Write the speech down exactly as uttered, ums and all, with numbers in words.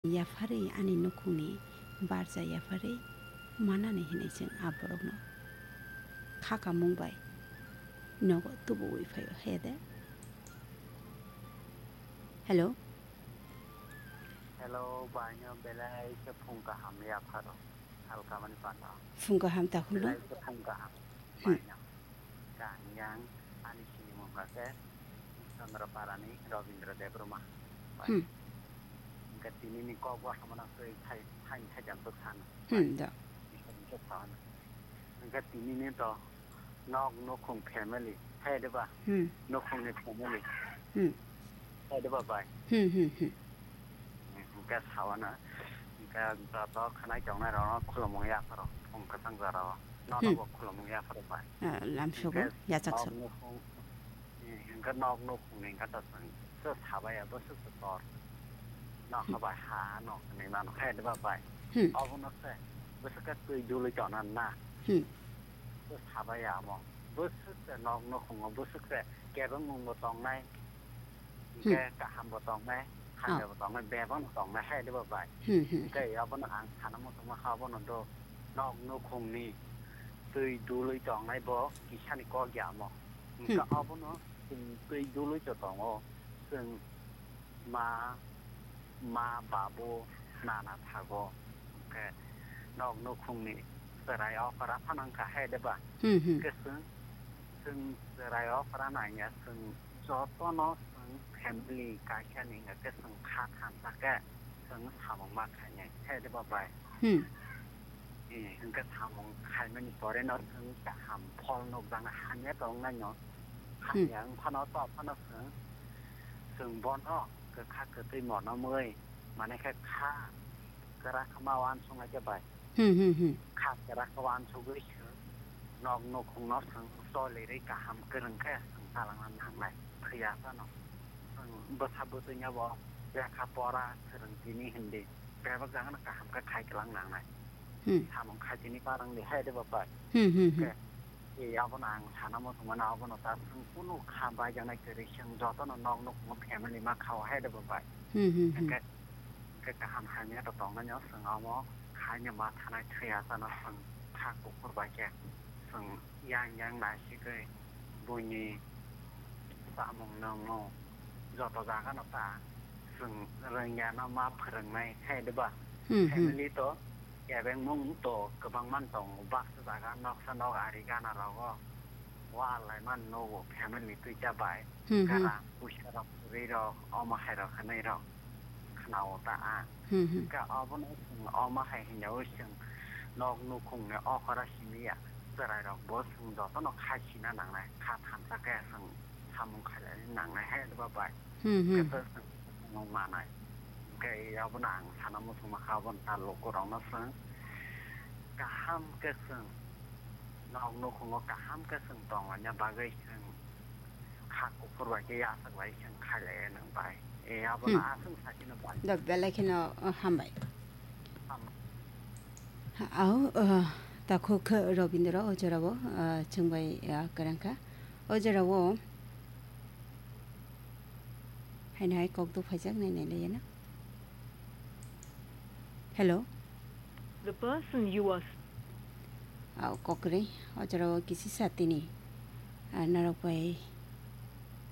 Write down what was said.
yapharwi ani nukhungni barja yapharwi manani hinwi chwng a borokno kha kamung bai nogo tubuwi phaio, he de? Hello? Hello, baino belai khe phung kaham yapharo. Salkamani panda. Phung kaham takhukno? Belai khe phung kaham. Hmm. Baino. Kaham yang ani sinimung khe Chandra Parani Robindra Debbarma. Hmm. Hwnkhe tinini kok bo hamano twi thai, thai, thai jang bwkhano. Hmm, da. Hwnkhe tinini to nok nukhung family, hai de ba? Hmm. Nukhungni family. Hmm. Hai de ba bai? Hmm, hmm, hmm. Hwnkhe sawana, hwnkhe joto khwnai tongnai rokno khulumung yapharo, phung kwchang jorao. Nono Hmm. bo khulumung yapharo bai. Ah, lamsogo, Hwnkhe yachaksuk. Nok nukhung, hwnkhe nok nukhungni hwnkhe to chwng, chwng sabaya bwswk se tor. Nok Hmm. habai ha, nok hwnwi mano, hai de ba bai? Hmm. Obono se, bwswk khe twi dului tongna na. Hmm. Bw sabai ya omo. Bwswk se nok nukhungo bwswk se kebengmung bo tongnai. Hwnkhe Hmm. kaham bo tongnai, hamya Ah. bo tongnai, bebak no tongnai, hai de bo bai. Hmm, hmm. Hwnkhe abono ang sana muchungma kha, abono do nok nukhungni twi dului tongnai bo kisani kok ya omo. Hwnkhe Hmm. abono chwng twi dului to tongo. Chwng ma, ma, babu, nana thago. Hwnkhe nok nukhungni chwrai okra phano wngkha hai de ba? Hmm, hmm. Hwnkhe chwng, chwng chwrai okra nangya, chwng jotono chwng family kaisani hwnkhe chwng kha thansa khe chwng samung ma khainai hai de ba bai? Hmm. Eh, hwnkhe samung khaimani poreno chwng kaham phol nukjaknai, hamya tongnaino. Hmm. Hamya wngphano to phano chwng, chwng bono kwkha kwtwi mono mwi, mane khe kha kwrak ma uansuknai khe bai. Hmm, hmm, hmm. Kha kwrak uansugwi chwng nok nukhungno chwng cholirwi kaham kwrwng khe chwng chalangna nangnai, thwiya phano. Chwng bwsa bwtwino bo lekha pora swrwng tini hindi. Bebak jagano kaham khe khai kwlang nangnai. Hmm. Samung khai tini parang di hai de bo bai. Hmm, hmm, hmm. Khe, e, abono ang sana muchungmano, abono ta chwng kunu kha baijaknai kwrwi, chwng jotono nok nukhungo family ma khao hai de bo bai. Hmm, hmm, hmm. Hwnkhe, hwnkhe kaham hamya to tongnaino chwng omo khaino ma thanai thwiya chano chwng kha kuphur bai khe chwng yang yang naisigwi buini samung nungmung joto jagano ta chwng rwngyano ma phwrwngnai hai de ba? Hmm, hmm. Family to kebengmung to kwbangma tongo, baksa jaga noksa nok ari gana rogo wal lai man nogo family twi cha bai. Hmm, hmm. Gara puisa rok kwrwi rok omo hai rok hwnwi rok khwnao ta a. Hmm, hmm. Hwnkhe obono chwng omo hai hwnjaui chwng nok nukhungni okra simi ya. Chwrairokbo chwng jotono kha sina nangnai, kha thansa khe chwng samung khailai nangnai hai de ba bai. Hmm, hmm. Hwnkhe chwng manai. Hwnkhe abono ang sana muchungma kha, abono ta lukurokno chwng kaham khe chwng nok nukhungo kaham khe chwng tonglaina bagwi chwng kha kuphur bai khe yachak bai chwng khailai nang bai. E, abono Hmm. aswk sakino bai. Da belai kheno, uh, hambai. Ham- Au, uh, takhuk khe Robindra o jorao, uh, chwng bai, uh, kwrang kha. O jorao haino hai kok duk phaijak nai nai laiya na. Hello? The person you are Au, kok kwrwi. O jorao kisi sa tini. Ah, norok bai